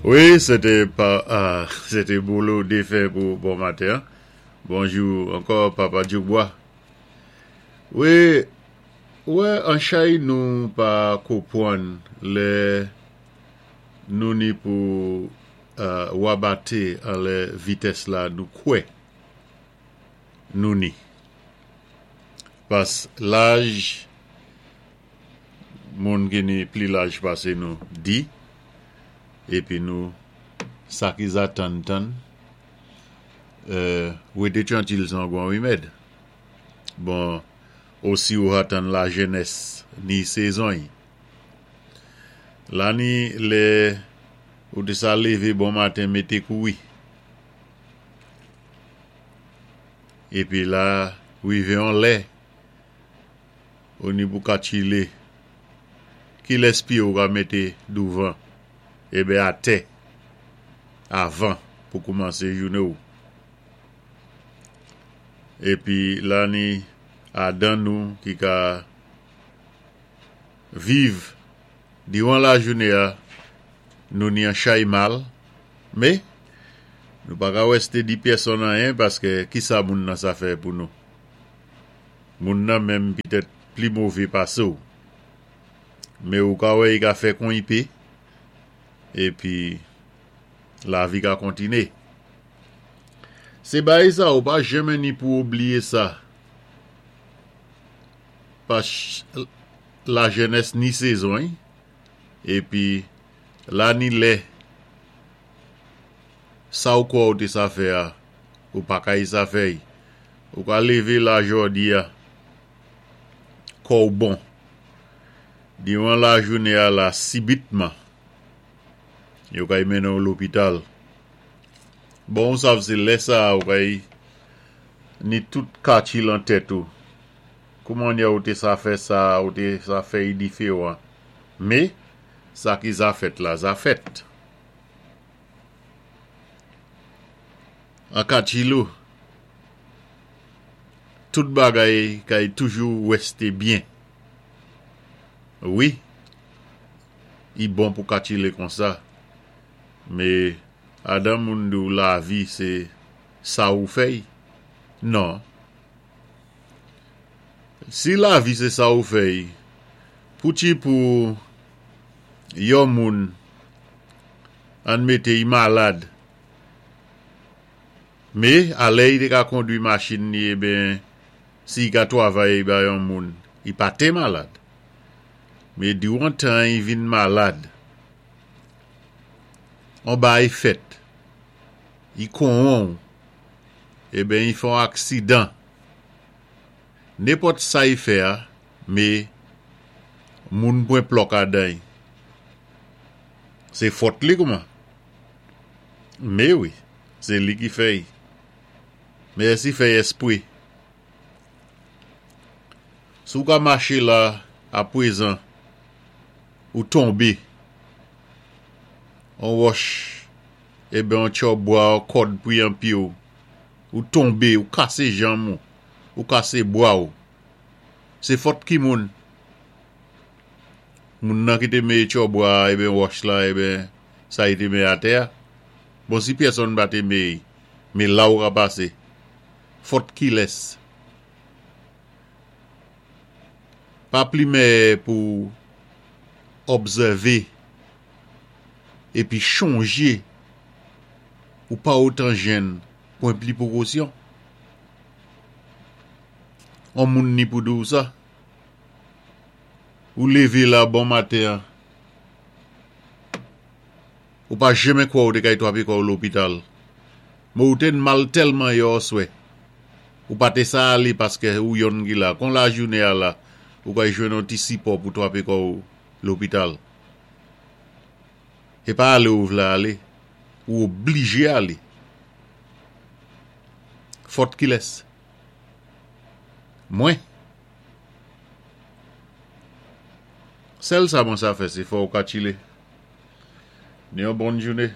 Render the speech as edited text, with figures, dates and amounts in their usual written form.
Wi, sé té pa, sé té Bolo défen pou bon maten an. Bonjou ankò Papa Dyoubwa. Wi, ou wè an chay nou pa kopwann lè nou ni pou wabaté anlè vitès la nou kwè nou ni. Pas laj moun ki ni pli laj pasé nou di, épi nou sa ki za tann tann, wété trantil san gwan rimèd. Bon, osi ou ha tann lajenès ni sezon-y. La ni lè ou té sa lévé bon maten mété kouri. Épi la rivé on lè, ou ni pou ka tchilé. Kilès pyé ou ka mété douvan, eben atè, avan pou koumansé jouné-w. Épi la ni adan nou ki ka viv diwan lajouné-a, nou ni an chay mal, mé nou pa ka wèsté di pyèsonn anyen paskè kisa moun nan sa fè pou nou? Moun nan menm pitèt pli mové pasé-w, mé ou ka wè i ka fè kon i pé, épi lavi ka kontiné. Sé bagay sa ou pa jenmen ni pou oubliyé sa, pas lajenès ni sezon-y, épi la ni lè sa ou kwè ou té sa fè a, ou pa ka y sa fè-y. Ou ka lévé la jòdi-a, kò-w bon, diwan lajouné-a la sibitman, yo ka y mennen-w lopital. Bon ou sav sé lè sa a ou ka y ni tout katchi lan tèt ou. Kouman nyè ou té sa fè sa, ou té sa fè y diféwan. Mé, sa ki za fèt la za fèt. An katchilou, tout bagay ka y toujou wèsté byen. Wi, y bon pou katchilé konsa. Mé adan moun di w lavi sé sa ou fè y, non. Si lavi sé sa ou fè y, pouti pou yon moun ann mété y malad, mé alè y té ka kondwi machin ni eben si y ka twavay ba yon moun, y pa té malad. Mé diwan tan y vin malad, On baay fèt, i konwon w, eben i fè on aksidan. Nenpòt sa i fè a, me moun pwen plòk adan i. Se fòt li kouman? Me wi, se li ki fè i. Me èsi fè i espwe? Si w ka mache la apwezan, ou tonbe, on wòch eben on tchò bwa on kòd pri an pye w, ou tonbe, ou kase janm ou, ou kase bwa w. Se fòt ki moun? Moun nan ki te meye tchò bwa a eben wòch la eben sa li te meye atè a? Bon si pyèsonn pa te meye, me la ou ka pase. Fòt kilès? Pa plimè pou obsève epi chonje ou pa otan jenn pwen pli pwokosyon. On moun ni pou di w sa. Ou leve la bon maten an, ou pa jenmen kwè ou te kay twape kò w lopital. Men ou te n mal tèlman yè oswè. Ou pa te sa ale paskè ou yonn ki la. Kon lajounen a la, ou kay jwenn on ti sipò pou twape kò ou lopital. E pa ale ou vle ale, ou oblije ale. Fòt kilès? Mwen? Sèl sa mwen sa fè se fè ou ka tchile. Ni yon bòn joune.